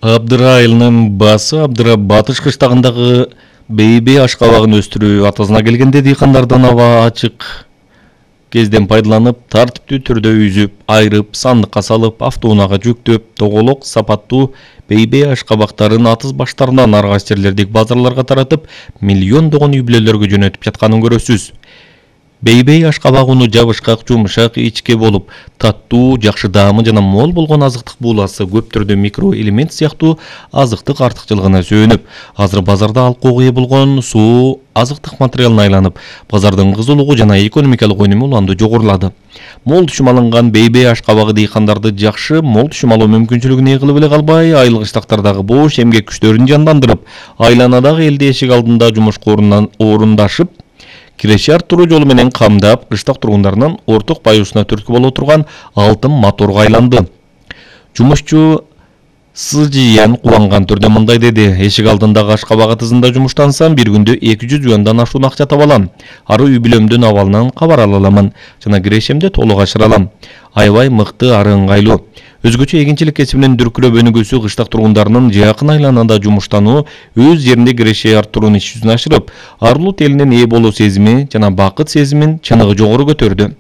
Абдыра айылынын басы Абдыра батыш кыштагындагы бейбей ашкабагын өстүрүү атасына келгенде дыйкандардан аба ачык кезден пайдаланып, тартиптүү түрдө үзүп, айрып, сандыкка салып, автоунаага жүктөп, тоголок сапаттуу бейбей ашкабактарын атыз баштарынан аргас жерлердик базарларга таратып, миллиондогон үй-бүлөлөргө жөнөтүп жатканын көрөсүз. Бейбей ашкабак уну жабышкак, жумшак, ичке болуп, таттуу, жакшы даамы жана мол болгон азыктык бууласы көп түрдө микроэлемент сыяктуу азыктык артыкчылыгына сөөнүп, азыр базарда алкоого ээ болгон суу азыктык материалына айланып, базардын кызуулугу жана экономикалык өнүмү уланды жогорулады. Мол түшүм алынган бейбей ашкабагы дыйкандарды жакшы мол түшүм алуу мүмкүнчүлүгүн ээ кылып эле калбай, айыл кыштактардагы бош эмгек күчтөрүн жандандырып, айланадагы элди эшик алдында жумушка орундашып, киреше арттыруу жолу менен камдап, кыштак тургундарынын орток баюусуна түрткү боло турган алтын моторго айланды. Жумушчу Сыжыян кубанган түрдө мындай деди: эшик алдындагы ашкабак атызында жумуштансам, бир күндө 200 юандан ашуун акча таба алам. Ары үй-бүлөмдүн абалынан кабар ала аламын жана кирешемди толук ашыра алам. Аябай мыкты, ары ыңгайлуу. Өзгөчө эгинчилик кесибинин дүркүрөп өнүгүүсү кыштак тургундарынын жакын айланада жумуштануу, өз жеринде киреше арттыруунун иш жүзүн ашырып, арылуу телинин ээ болуу сезими жана бакыт сезимин чыныгы жогору көтөрдү.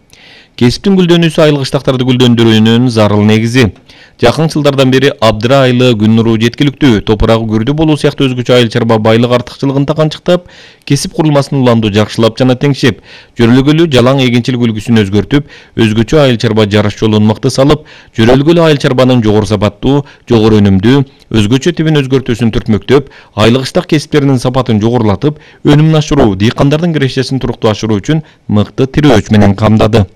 Кесиптин гүлдөнүүсү айыл кыштактарды гүлдөндүрүүнүн зарыл негизи. Жакын жылдардан бери Абдыра айылы күн нуру жеткиликтүү, топурагы күрдүү болуу сыяктуу өзгөчө айыл чарба байлык артыкчылыгын таканчыктап, кесип курулмасын уланду жакшылап жана теңшеп, жөрөлгөлүү жалаң эгинчилик үлгүсүн өзгөртүп, өзгөчө айыл чарба жарыш жолун мыкты салып, жөрөлгөлүү айыл чарбанын жогору сапаттуу, жогору өнүмдүү, өзгөчө тибин өзгөртүүсүн түртмөктөп, айыл кыштак кесиптеринин сапатын жогорулатып, өнүмүн ашыруу, дыйкандардын кирешесин туруктуу ашыруу үчүн мыкты тирөөч менен камдады.